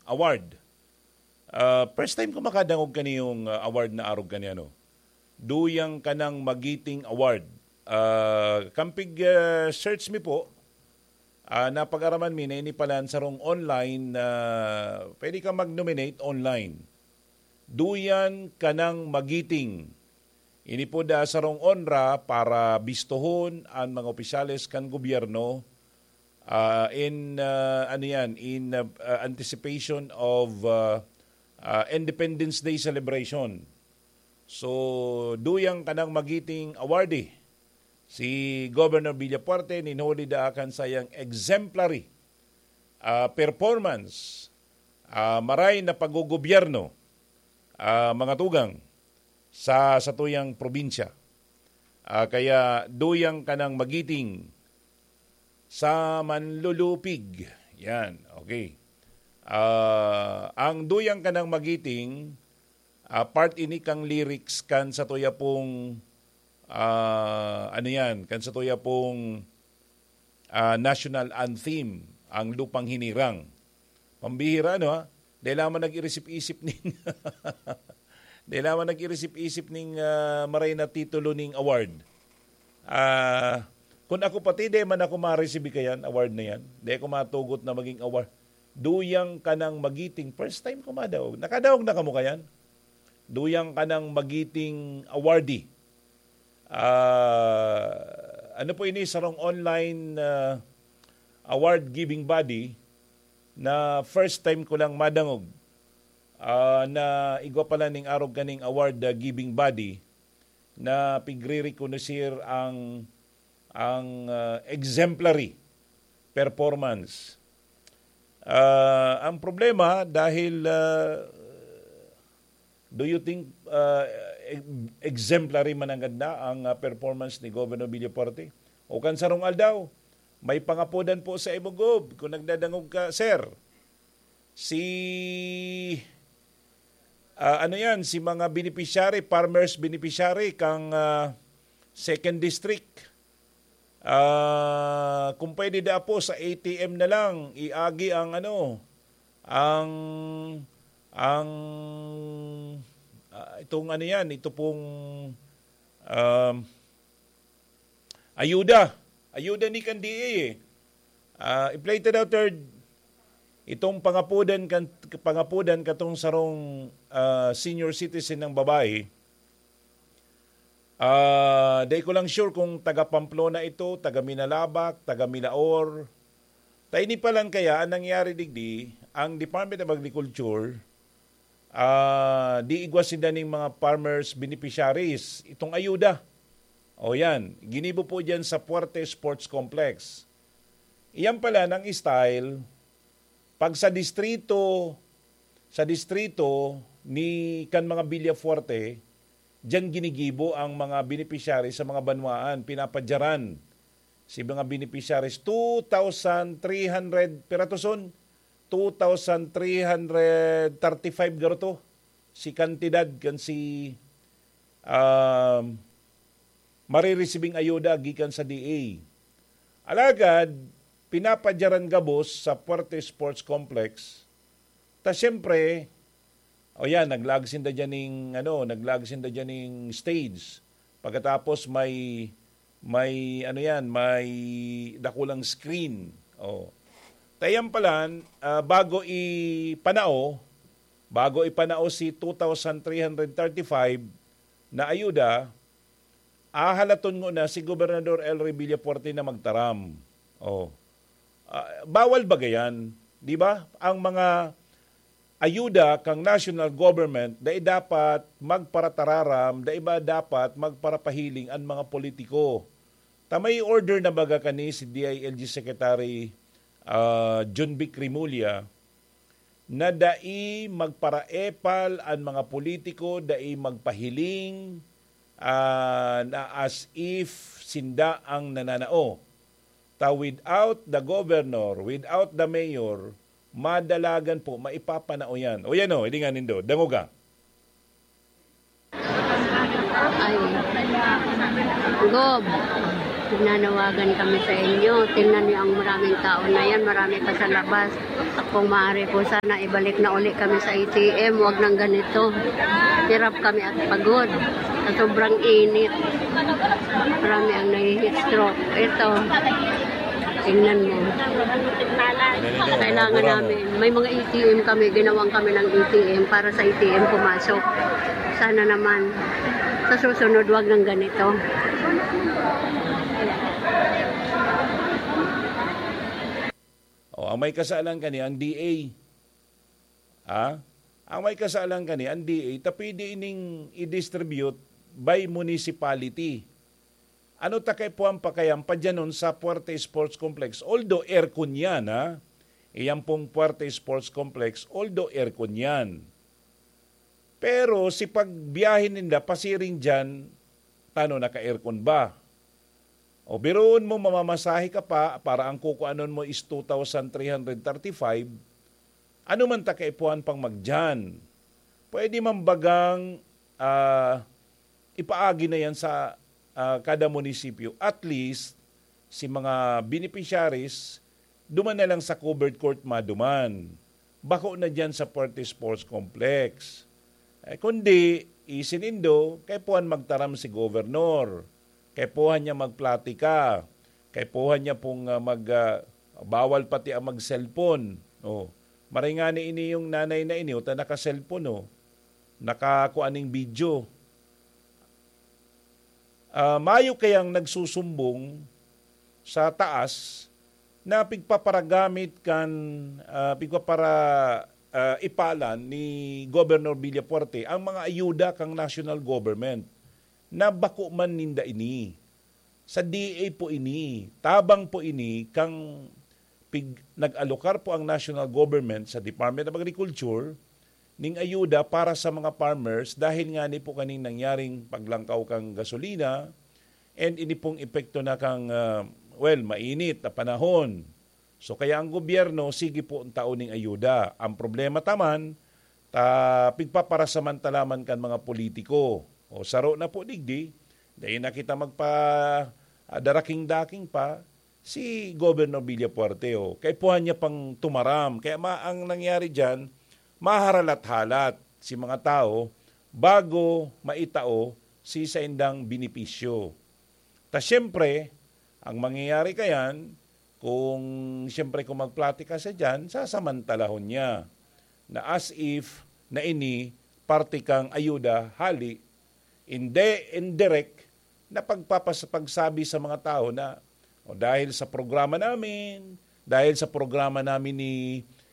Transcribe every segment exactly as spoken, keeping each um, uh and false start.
award. Ah, first time ko makadangog kaniyong, ah, award na arog kani, ano. Duyang Kanang Magiting Award. Ah, kampig, ah, search mi po, ah, napag-araman mi na ini pala an sarong online na pwede ka mag-nominate online. Duyan Kanang Magiting. Ini po da sarong onra para bistohon an mga opisyales kan gobyerno, ah, in, ah, ano yan, in, ah, ah, anticipation of, ah, ah, Independence Day celebration. So, Duyang Kanang Magiting awardee, si Governor Villafuerte, nin huli da kan sayang exemplary, ah, performance, ah, maray na paggogobyerno, ah, mga tugang, sa satuyang probinsya. Ah, kaya Duyang Kanang Magiting sa Manlulupig. Yan, okay. Ah, ang Duyang Kanang Magiting, ah, part ini kan lyrics kan satuya pong, ah, ano yan, kan satuya pong, ah, national anthem, ang Lupang Hinirang. Pambihira, no, ha? Dai lamang nag-irisip-isip ning, dai lamang nag-irisip-isip ning, ah, maray na titulo ning award. Ah, kun ako pati, dai man ako ma-receive kayan, award na yan. Dai ako matugot na maging award. Duyang Kanang Magiting. First time ko madaog. Nakadaog na kamo kayan? Duyang Kanang Magiting awardee. Ah, ano po ini, sarong online, ah, award giving body na first time ko lang madangog, ah, na igwa pala ning arog kaning award, ah, giving body na pigre-reconocer ang, ang, ah, exemplary performance. Ah, ang problema, dahil, ah, do you think, ah, e-, exemplary mananggad na ang, ah, performance ni Governor Villafuerte? O kan sarong aldaw, may pangapodan po sa imo, Gob, kung nagdadangog ka, sir. Si, ah, ano yan, si mga beneficiary, farmers beneficiary kang, ah, second district. Ah, kung pwede da po sa A T M na lang, iagi ang ano, ang, ang, ah, itong ano yan, ito pong, um, ayuda. Ayuda ni kan D A eh. Ah, i-play ta daw, third. Itong pangapodan kan, pangapodan katong sarong, ah, senior citizen ng babae. Ah, dai ko lang sure kung taga Pamplona ito, taga Minalabac, taga Milaor. Ta ini pa lang kaya ang nangyari digdi, ang Department of Agriculture, ah, di igwa sinda ning mga farmers beneficiaries, itong ayuda. O yan, ginibo po dyan sa Fuerte Sports Complex. Iyan pala ng style, pag sa distrito, sa distrito ni kan mga Villafuerte, diyan ginigibo ang mga beneficiaries sa mga banwaan, pinapadyaran si mga beneficiaries, two thousand three hundred, pira to son? Two thousand three hundred thirty-five garo to si kantidad kan si, um, maririsibing ayuda gikan sa D A. Alagad, pinapadyaran gabos sa Fuerte Sports Complex. Ta siyempre, o yan, naglaag sinda dyan ning, ano, naglaag sinda dyan ning stage. Pagkatapos may, may, ano yan, may dakulang screen. O. Tayan palan, ah, bago ipanao, bago ipanao si two thousand three hundred thirty-five na ayuda, ahalaton ngona si Gobernador Elroy Villafuerte na magtaram. O. Ah, bawal ba gayan? Di ba? Ang mga ayuda kang national government, dai dapat magparatararam, dai ba dapat magparapahiling an mga politiko? Ta may order na baga kani si D I L G Secretary, ah, John Vic Remulla, na dai magparaepal an mga politiko, dai magpahiling, ah, na as if sinda ang nananao. Ta without the governor, without the mayor, madalagan po, maipapanao yan. O yan o, hilingan nindo, dangoga. Ay. Gob. Nanawagan kami sa inyo. Tingnan niyo ang maraming tao na yan. Marami pa sa labas. Kung maaari po, sana ibalik na uli kami sa A T M. Huwag nang ganito. Hirap kami at pagod. Sa sobrang init. Marami ang nahi-heat stroke. Ito. Tingnan mo. Kailangan namin. May mga A T M kami. Ginawang kami ng A T M para sa A T M pumasok. Sana naman. Sa susunod, wag nang ganito. O, ang may kasalan kani, ang D A. Ha? Ang may kasalan kani, ang D A, ta pwede ining i-distribute by municipality. Ano ta kaipuhan pa kaya ang padyanon sa Puerte Sports Complex? Although aircon yan, ha? Iyan pong Puerte Sports Complex, although aircon yan. Pero si pagbiyahe ninda pasiring dyan, tano naka-aircon ba? O biruon mo, mamamasahe ka pa para ang kukuanon mo is two thousand three hundred thirty-five, ano man ta kaipuhan pang magdyan? Pwede man bagang, ah, ipaagi na yan sa, ah, kada munisipyo. At least, si mga beneficiaries, duman na lang sa covered court maduman. Bako na dyan sa Puerte Sports Complex. Eh, kundi, isinindo, kaipuhan magtaram si gobernador. Kaipuhan niya magplatika. Kaipuhan niya pong, ah, mag, ah, bawal pati ang mag-cellphone. Oh. Maray ngani ini yung nanay na ini, o ta naka-cellphone, oh. Nakakuha ning video. Ah, mayo kayang nagsusumbong sa taas na pigpaparagamit kan, ah, pigpapara-, ah, ipalan ni Governor Villafuerte ang mga ayuda kan national government na bako man ninda ini. Sa D A po ini, tabang po ini kang pig-, nag-alokar po ang national government sa Department of Agriculture ning ayuda para sa mga farmers dahil ngani po kaning nangyaring paglangkaw kan gasolina and ini pong epekto na kang, ah, well, mainit na panahon. So, kaya ang gobyerno, sige po ang tao ning ayuda. Ang problema ta man, ta pigpaparasamantala man kan mga politiko. O, saro na po digdi, dai na kita magpa-, ah, daraking-daking pa, si Governor Villafuerte, oh. Kaipuhan niya pang tumaram. Kaya ma-, ang nangyari diyan, maharalat-halat si mga tao bago maitao si saindang benepisyo. Ta siyempre, ang mangyayari kayan, kung siyempre kung magplatika siya diyan, sasamantalahon niya na as if na ini parte kang ayuda, hali, indi, indirect na pagpapas-, pagsabi sa mga tao na, "O, dahil sa programa namin, dahil sa programa namin ni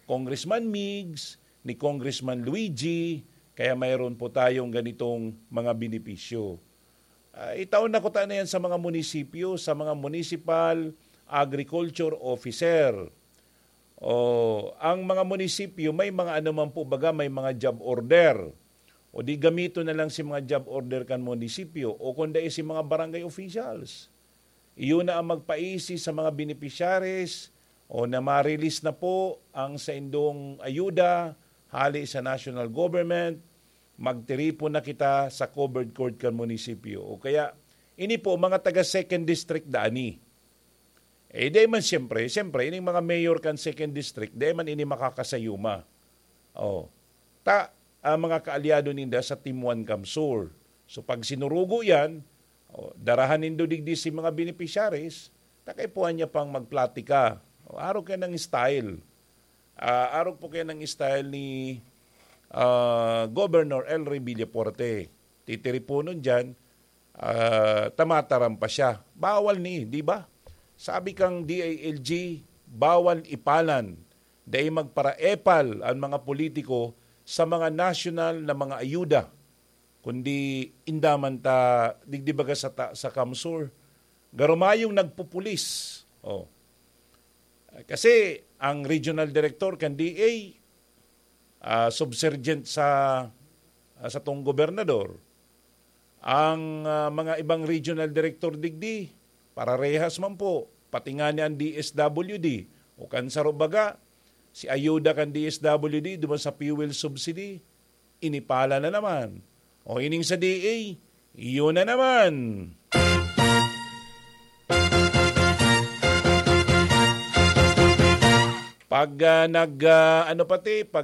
Congressman Migs, ni Congressman Luigi, kaya mayroon po tayong ganitong mga benepisyo." Ah, itaon na kuta na yan sa mga munisipyo, sa mga municipal agriculture officer. O, ang mga munisipyo, may mga ano man po baga, may mga job order. O di gamiton na lang si mga job order kan munisipyo o kung dai si mga barangay officials. Iyo na ang magpaisi sa mga beneficiaries o na ma-release na po ang saindong ayuda hali sa national government, magtiripon na kita sa covered court kan munisipyo. O kaya, ini po, mga taga second district da ani. Eh, di man siyempre, siyempre, ining mga mayor kan second district, di man ini makakasayuma. Oh. Ta, ang mga kaalyado ninda sa Team One CamSur. So, pag sinurugo yan, oh, darahan nindo digdi si mga beneficiaries, ta kaipuhan niya pang magplatika. Oh, arog kaya ng style. Ah, arog po kaya ng style ni, ah, Governor Elry Villafuerte. Titiriponon dyan, ah, tamataram pa siya. Bawal ni, di ba? Sabi kang D I L G, bawal ipalan. Dai magparaepal ang mga politiko sa mga national na mga ayuda, kundi indaman ta digdi baga sa ta-, sa CamSur. Garumayong nagpupulis. Oh. Kasi ang regional director kan D A, ah, subsergient sa, ah, satong gobernador. Ang, ah, mga ibang regional director digdi, pararehas man po, pati nga ni ang D S W D, o kan saro baga, si ayuda kan D S W D duman sa fuel subsidy, inipala na naman. O ining sa D A, iyon na naman. Pag ah, nag ah, ano pati, pag